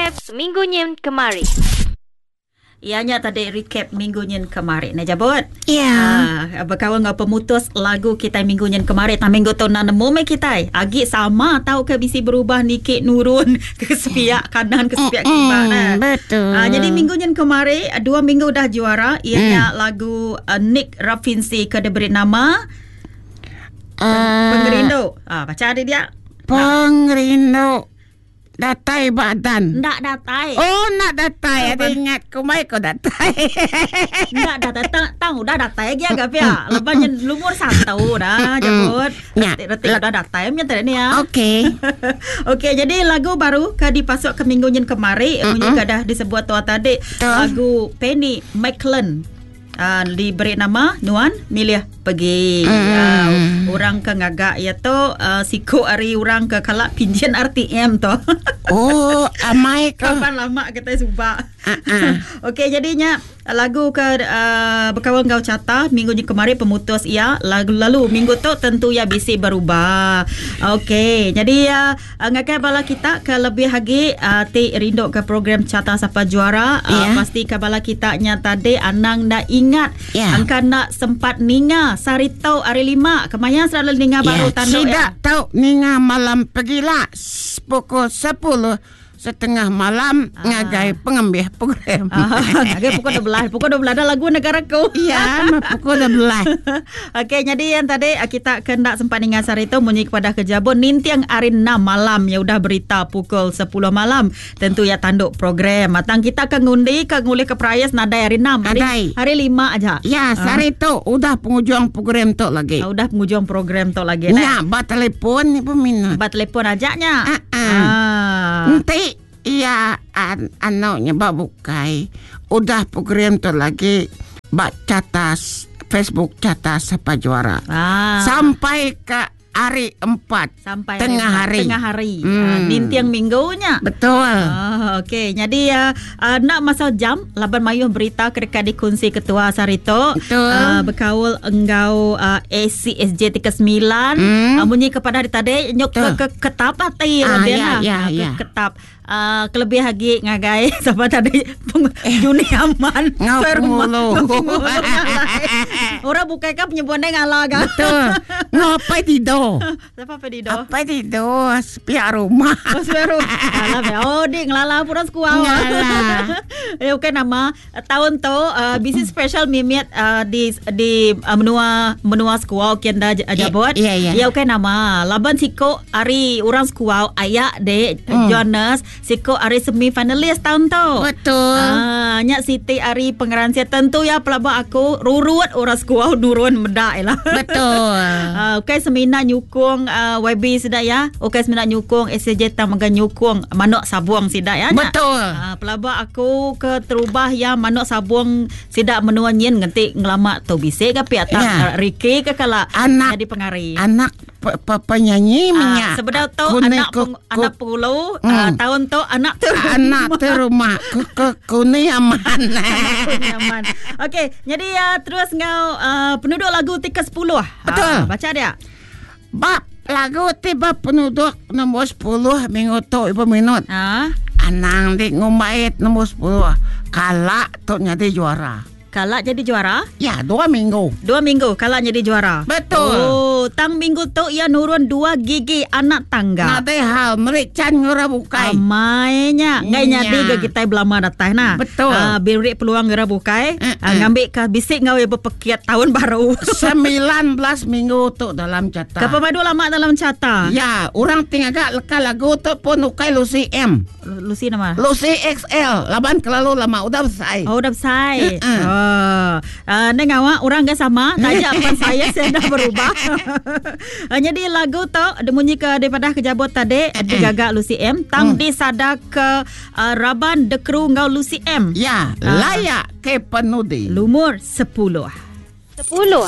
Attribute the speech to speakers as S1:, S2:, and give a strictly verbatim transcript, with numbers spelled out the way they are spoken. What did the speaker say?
S1: Recap seminggu nyin kemari.
S2: Iya nya tadi recap minggu nyin kemari. Nah jabut.
S3: Ya.
S2: Ah, berkawan dengan pemutus lagu kita minggu nyin kemari. Tang minggu tu nak nemu me kita. Agi sama tau ke bisi berubah nikik nurun ke sepiak kanan ke sepiak kiba nah.
S3: Betul.
S2: Ah, jadi minggu nyin kemari dua minggu dah juara ianya mm. lagu uh, Nick Rafinsi ke diberi nama
S3: uh,
S2: Pengerindu. Ah, baca dia dia.
S3: Pengerindu. Datai badan.
S2: Ndak datai.
S3: Oh, nak datai. Ada ingat kumai ko datai.
S2: Ndak datai. Tang, tang udah datai lagi agak pia. Lepas lumur satu dah jemput. Reti, reti udah datai punya tadi ni ya.
S3: Okey.
S2: Okey, jadi lagu baru ke dipasuk ke minggu nyin kemari, munyi ke dah disebut tua tadi, lagu Penny McLean. Uh, diberi nama Nuan Milih Pergi. Mm. Uh, orang ke ngagak ya tu uh, siku ari orang ke kalak pinjin R T M tu.
S3: Oh, amai ke.
S2: Kapan lama kita subak.
S3: Uh-uh.
S2: Okey, jadinya lagu ke uh, berkawan gau carta minggu ni kemarin pemutus ia lagu lalu minggu tu tentu ia bisi berubah. Okey, jadi uh, ngakai bala kita ke lebih lagi uh, ti rindu ke program Carta Sapa Juara uh,
S3: yeah.
S2: Pasti ke bala kita nya tadi anang dah ingat
S3: yeah.
S2: Angka nak sempat ninga sarito hari lima kemaya selalu ninga
S3: yeah.
S2: Baru tanduk
S3: tidak
S2: ya.
S3: Tahu ninga malam pergilah pukul sepuluh setengah malam
S2: ah.
S3: Ngagai pengembih program.
S2: Ah, ngagai pukul dua belas. Pukul dua belas ada lagu negaraku.
S3: Ya, pukul dua belas.
S2: Okey, jadi yang tadi kita kendak sempat ninga sari itu munyi kepada kejabun nintiang hari enam malam ya udah berita pukul sepuluh malam. Tentu ya tanduk program. Matang kita ke ngundi ke ngulih ke perayas nadai hari enam. Hari, hari lima aja.
S3: Ya, sari tu ah. Udah penghujung program tu lagi.
S2: Ah, udah penghujung program tu lagi.
S3: Ya, bat telefon ni peminat.
S2: Bat telefon ajaknya.
S3: Ah. ah.
S2: ah.
S3: Nanti iya, an anaknya bak bukai. Udah program tu lagi bak catas Facebook Carta Sapa Juara.
S2: Ah.
S3: Sampai ke hari empat.
S2: Sampai
S3: tengah hari.
S2: Tengah hari.
S3: Hmm.
S2: Uh, nintiang minggunya.
S3: Betul.
S2: Oh, okey. Jadi uh, uh, nak masa jam laban mayuh berita kedekat dikunci ketua Sarito.
S3: Betul.
S2: Uh, berkaul enggau uh, A C S J tiga sembilan.
S3: Hmm.
S2: Uh, bunyi kepada hari tadi nyok ke, ke ketap hati
S3: ah,
S2: ya,
S3: ya, ya,
S2: uh,
S3: ya.
S2: Ke, ketap. Uh, kelebih lagi ngagai sama tadi Juni Aman.
S3: Ngau pengulu.
S2: Orang bukan kan penyebuan ngalah kan.
S3: Betul. Ngapai tidur.
S2: Siapa apa tidur?
S3: Apa tidur? Sepiak rumah.
S2: Oh, sepiak rumah. Alah, oh, dik ngelalah pura sekuau.
S3: Ngalah.
S2: Eh, okey nama tahun tu uh, bisnis special mimiat uh, di di uh, menua menua sekuau kian dah jabot.
S3: Ya, ya.
S2: Ya okey nama. Laban siko ari orang sekuau ayak dek
S3: hmm.
S2: Jonas siko ari semi finalis tahun tu.
S3: Betul.
S2: Ah, nyak Siti ari pengeransia tentu ya pelabak aku rurut orang sekuau nurun medak lah.
S3: Betul.
S2: Ah, okey semina nyukung uh, Y B sedak ya. Okey semina nyukung S J tang mega nyukung manuk sabuang sidak ya.
S3: Betul.
S2: Uh, pelabak aku ke terubah ya manuk sabuang sidak menua nyin ngentik ngelamak tu bisik ke pihak tak
S3: Ya.
S2: Ricky ke kala
S3: Anak-
S2: jadi pengari.
S3: Anak pe, pe, penyanyi
S2: Ah,
S3: minyak.
S2: sebenar tu
S3: Kune
S2: anak
S3: ku,
S2: peng,
S3: ku,
S2: anak pengulu
S3: Hmm.
S2: uh, tahun tu anak tu
S3: anak tu rumah ku ku kune aman.
S2: nyaman. Okey, jadi uh, terus ngau uh, penduduk lagu tiga sepuluh.
S3: Betul.
S2: Ah, baca dia.
S3: Bab lagu tiba penduduk nombor sepuluh minggu tu ibu minut.
S2: Ah,
S3: Anang di ngumbait nombor sepuluh. Kalak tu jadi juara.
S2: Kalak jadi juara.
S3: Ya, dua minggu.
S2: Dua minggu kalak jadi juara.
S3: Betul.
S2: Oh, tang minggu tu ia nurun dua gigi anak tangga.
S3: Nate hal merik can ngura bukai.
S2: Amainya. Ngai
S3: Nya.
S2: nyadi ke kita belama datang nah.
S3: Betul.
S2: Ah, beri peluang ngura bukai.
S3: Mm-mm.
S2: Ah, ngambil ke bisik ngau berpekiat tahun baru.
S3: Sembilan belas minggu tu dalam carta.
S2: Kepemadu lama dalam carta.
S3: Ya, orang tinggal agak leka lagu tu pun ukai Lucy M.
S2: Lucy nama.
S3: Lucy X L. Laban kelalu lama udah besai.
S2: Oh, udah besar.
S3: Mm-mm.
S2: Oh. Uh, neng awak orang ke sama, tanya apa saya saya dah berubah. Uh, jadi lagu tu demunyi ke daripada kejabot tadi digagak Lucy M tang
S3: Mm.
S2: disada ke uh, Raban The Crew ngau Lucy M.
S3: Ya,
S2: Ah.
S3: layak ke penudi.
S2: Lumur sepuluh.
S1: Sepuluh.